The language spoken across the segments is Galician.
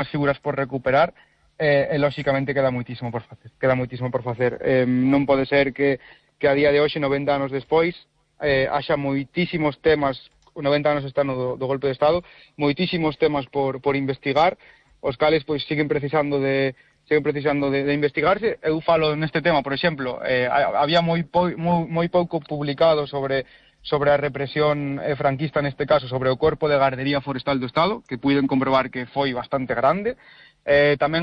figuras por recuperar, lóxicamente queda moitísimo por facer. Non pode ser que a día de hoxe, 90 anos despois, haxa moitísimos temas, 90 anos está do golpe de Estado, moitísimos temas por investigar, os cales pois siguen precisando de investigarse. Eu falo neste tema, por exemplo, había moi pouco publicado sobre a represión franquista, neste caso, sobre o Corpo de Gardería Forestal do Estado, que puiden comprobar que foi bastante grande. Tamén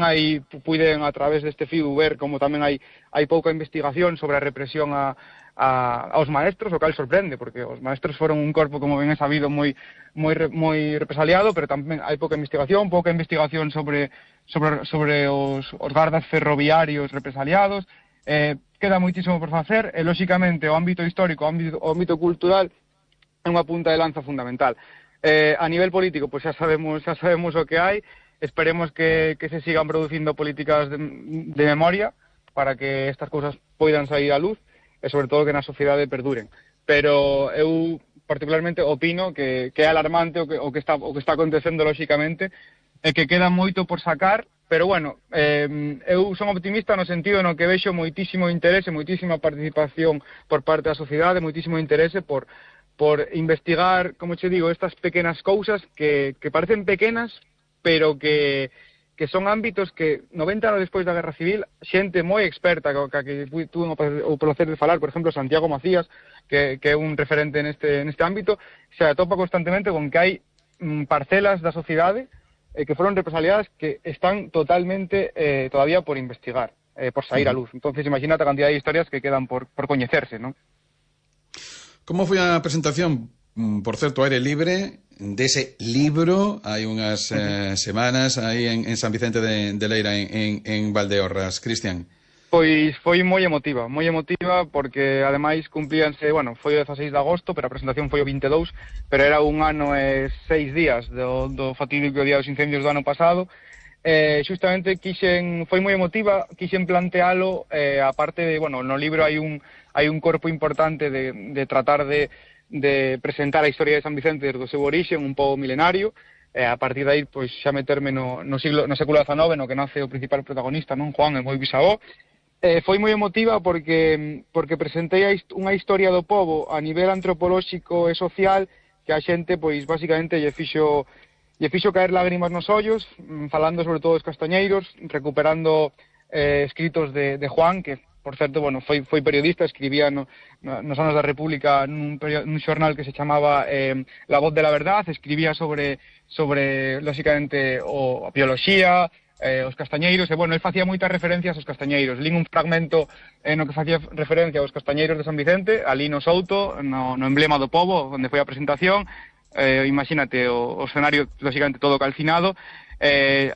puiden, a través deste fío, ver como tamén hai pouca investigación sobre a represión aos maestros, o cal sorprende, porque os maestros foron un corpo, como ben é sabido, moi represaliado, pero tamén hai pouca investigación sobre os gardas ferroviarios represaliados. Queda moitísimo por facer, e lóxicamente o ámbito histórico, o ámbito cultural é unha punta de lanza fundamental. A nivel político, pois xa sabemos o que hai. Esperemos que se sigan producindo políticas de memoria para que estas cousas poidan sair á luz e sobre todo que na sociedade perduren. Pero eu particularmente opino que é alarmante o que está acontecendo lóxicamente, e que queda moito por sacar, pero bueno, eu son optimista no sentido no que vexo moitísimo interese, moitísima participación por parte da sociedade, moitísimo interese por investigar, como che digo, estas pequenas cousas que parecen pequenas, pero que son ámbitos que 90 anos despois da Guerra Civil, xente moi experta que tuve o placer de falar, por exemplo, Santiago Macías, que é un referente neste ámbito, se atopa constantemente con que hai parcelas da sociedade que foron represaliadas que están totalmente todavía por investigar, por sair a luz. Entonces, imagínate a cantidad de historias que quedan por coñecerse, ¿no? Como foi a presentación, por certo, aire libre, dese libro, hai unhas semanas aí en San Vicente de Leira, en Valdeorras, Cristian? Pois foi moi emotiva porque ademais cumplíanse, bueno, foi o 16 de agosto, pero a presentación foi o 22, pero era un ano e 6 días do fatídico día dos incendios do ano pasado. Justamente foi moi emotiva, quixen plantealo, aparte de, bueno, no libro hai un corpo importante de tratar de presentar a historia de San Vicente desde o seu orixe, un pobo milenario, a partir de aí, pois, xa meterme no século XIX, no que nace o principal protagonista, non, Juan, el moi bisavó. Foi moi emotiva porque presentei unha historia do pobo a nivel antropolóxico e social que a xente, pois, basicamente lle fixo caer lágrimas nos ollos, falando sobre todo dos castañeiros, recuperando escritos de Juan, que, por certo, bueno, foi periodista, escribía nos anos da República nun xornal que se chamaba La Voz de la Verdad, escribía sobre lóxicamente, a bioloxía, os castañeiros, e, bueno, el facía moitas referencias aos castañeiros. Lín un fragmento no que facía referencia aos castañeiros de San Vicente, ali no Souto, no emblema do pobo, onde foi a presentación. Imagínate o escenario, lóxicamente, todo calcinado,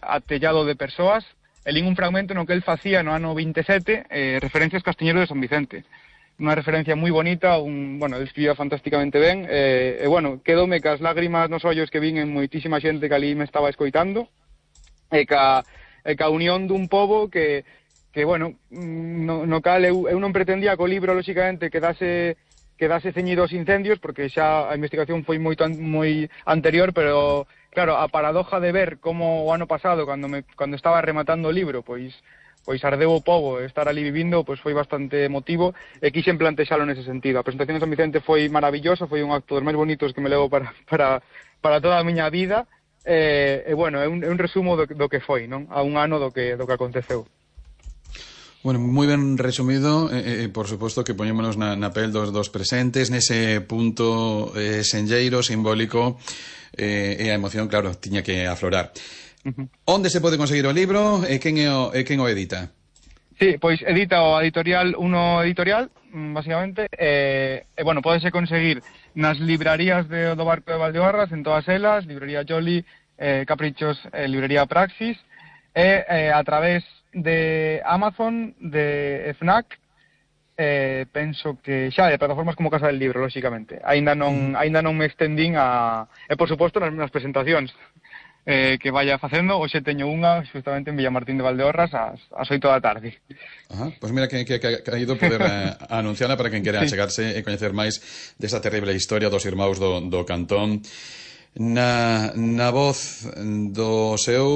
atellado de persoas. Lín un fragmento no que el facía no ano 27 referencias aos castañeiros de San Vicente. Unha referencia moi bonita, bueno, el escribía fantásticamente ben, bueno, quedoume cas lágrimas nos ollos que vin en moitísima xente que ali me estaba escoitando, e ca unión dun pobo que bueno, no cal eu non pretendía que o libro, lóxicamente, quedase ceñido aos incendios, porque xa a investigación foi moi anterior, pero claro, a paradoja de ver como o ano pasado, cando estaba rematando o libro, pois ardeu o pobo, estar ali vivindo, pois foi bastante emotivo, e quixen plantexalo nese sentido. A presentación de San Vicente foi maravillosa, foi un acto dos máis bonitos que me levo para toda a miña vida, e bueno, é un resumo do que foi, non? A un ano do que aconteceu. Bueno, moi ben resumido, por suposto que poñémonos na pel dos presentes, nese punto senlleiro, simbólico, e a emoción, claro, tiña que aflorar. Onde se pode conseguir o libro e quen o edita? Sí, pois edita o editorial Uno Editorial, basicamente, e bueno, pódese conseguir nas librarías do Barco de Valdeorras, en todas elas, librería Jolly, Caprichos, librería Praxis, e a través de Amazon, de Fnac, penso que xa de plataformas como Casa del Libro, lóxicamente. Aínda non me extendín e por suposto nas presentacións que vaya facendo. Hoxe teño unha justamente en Villamartín de Valdeorras ás 8 da tarde. Pois mira que ha ido poder anunciarla para quen quere achegarse e coñecer máis desa terrible historia dos irmãos do Cantón. na voz do seu